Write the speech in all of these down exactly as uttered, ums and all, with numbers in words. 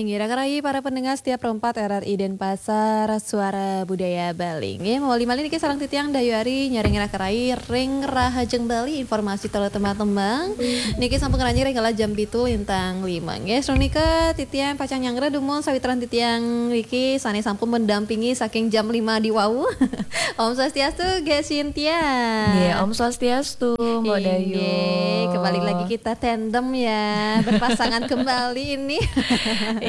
Inggih, raka rayi para pendengar setia Pro empat R R I Denpasar, Suara Budaya Bali. Inggih, mawali malih niki sareng titiang Dayu Ari nyarengin raka rayi ring Rahajeng Bali, informasi tur tembang-tembang. Niki sampun ngranjing ring kala jam pitu lintang lima. Inggih, sareng nika titiang pacang nyanggra dumun sawitran titiang niki sane sampun mendampingi saking jam lima di wau. Om Swastiastu, Gék Cynthia. Nggih, Om Swastiastu, Mbok Dayu. Inggih, kembali lagi kita tandem ya, berpasangan kembali ini.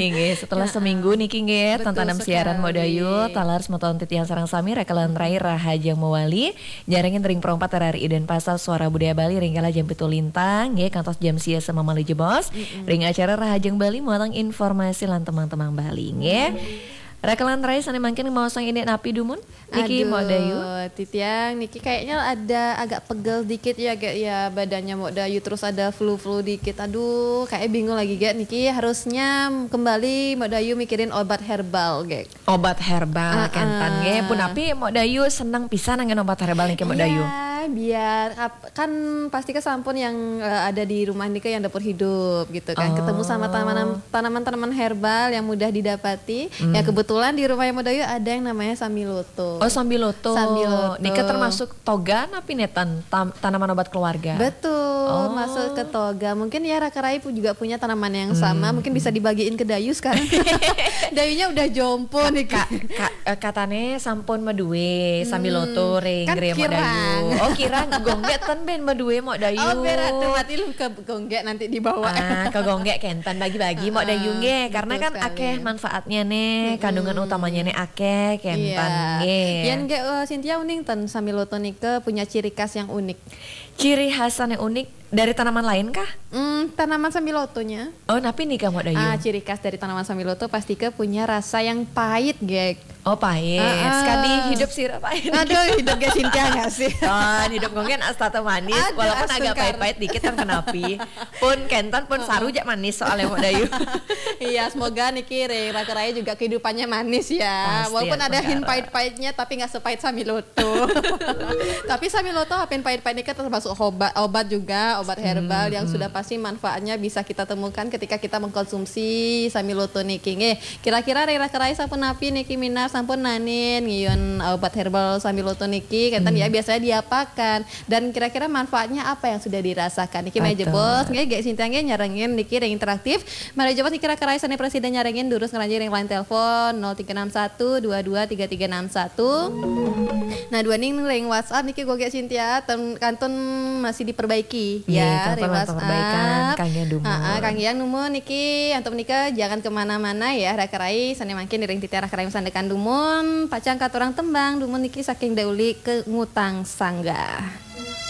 Inggih, setelah seminggu niki nggih, Betul tatanem siaran Mbok Dayu, sekali. Talar semeton titiang sareng sami, raka lan rai Rahajeng Mawali, nyarengin ring Pro empat R R I Denpasar, Suara Budaya Bali, ring kala jam pitu lintang, nggih, kantos jam sia semamali jebos, ring acara Rahajeng Bali, muatang informasi lan tembang-tembang Bali, nggih. Raka lan rai sane mangkin maosang indik napi dumun? Niki, Mbok Dayu. Aduh, titiang niki kayaknya ada agak pegel dikit ya, Gék, ya, badannya Mbok Dayu, terus ada flu-flu dikit. Aduh, kayak bingung lagi, Gék, niki harusnya kembali Mbok Dayu mikirin obat herbal, Gék. Obat herbal, Ah, kenten ah. Nggih. Punapi Mbok Dayu seneng pisan anggen obat herbal niki, Mbok Dayu? Iya, biar ap- kan pasti kesampun yang eh, ada di rumah nika yang dapur hidup gitu kan. Oh. Ketemu sama tanaman- tanaman-tanaman herbal yang mudah didapati. Hmm. Ya, kebetulan di rumah Mbok Dayu ada yang namanya sambiloto. Oh, sambiloto. Sambiloto. Nika termasuk toga napi nenten, tam- tanaman obat keluarga? Betul, Oh. masuk ke toga. Mungkin ya raka rayi pu- juga punya tanaman yang sama, Hmm. mungkin bisa dibagiin ke Dayu sekarang. Dayunya udah jompo nih. Ka, ka, eh, katane sampun madue sambiloto ring Kan gre Mbok kirang. Dayu. Oh, kirang. Gonggek ten ben madue Mbok Dayu. Oh, berarti mati lu ke gonggek nanti dibawa. Ah, ke gonggek kenten bagi-bagi Mbok Dayu Ah, nggih, betul karena kan sekali. Akeh manfaatnya nih, kandungan utamanya nih akeh kenten Iya. nggih. Yan, Gék, eh, Cynthia, uning ten sambiloto nika punya ciri khas yang unik. Ciri khasnya unik dari tanaman lain kah? Hmm, tanaman sambilotonya. Oh, napi nika Mbok Dayu? Ah, ciri khas dari tanaman sambiloto pasti ke punya rasa yang pahit, Gék. Oh, pahit. Ah, ah. Sekali hidup sira pahit. Aduh, hidup Gék Cynthia nggak sih? Kan hidup mungkin astata manis, Aduh, walaupun agak astungkar. Pahit-pahit dikit kan kenapi. Pun kenten pun saru jak manis soalnya Mbok Dayu. Iya, semoga niki ring raka rayi juga kehidupannya manis ya. Pasti, Walaupun ada astungkara. Hin pahit-pahitnya, tapi nggak sepahit sambiloto. Tapi sambiloto, apen pahit-pahit nika termasuk obat, obat juga, obat herbal yang sudah pasti manfaatnya bisa kita temukan ketika kita mengkonsumsi sambiloto niki. Nggih, kira-kira ring raka rayi sampun napi niki minab, sampun nanin ngiyun obat herbal sambiloto niki, kenten ya, biasanya diapakan? Dan kira-kira manfaatnya apa yang sudah dirasakan? Niki mari Betul. jebos, nggih, Gék Cynthia nggih nyarengin niki ring interaktif. Mari jebos niki raka rayi sane prasida nyarengin, durus ngranjing ring line telepon nol tiga enam satu dua dua tiga tiga enam satu. Nah, duaning ring WhatsApp niki, Gék Cynthia, ten- kantun masih diperbaiki. Iya, Ya, kantun ring lan perbaikan, WhatsApp. kangge dumun. Ha, ha, kangge yang dumun niki, antuk menika jangan kemana-mana ya, raka rayi, sane mangkin ring titiang raka rayi masandekan dumun, pacang katurang tembang, dumun niki saking Dauli ke Ngutang Sanggah.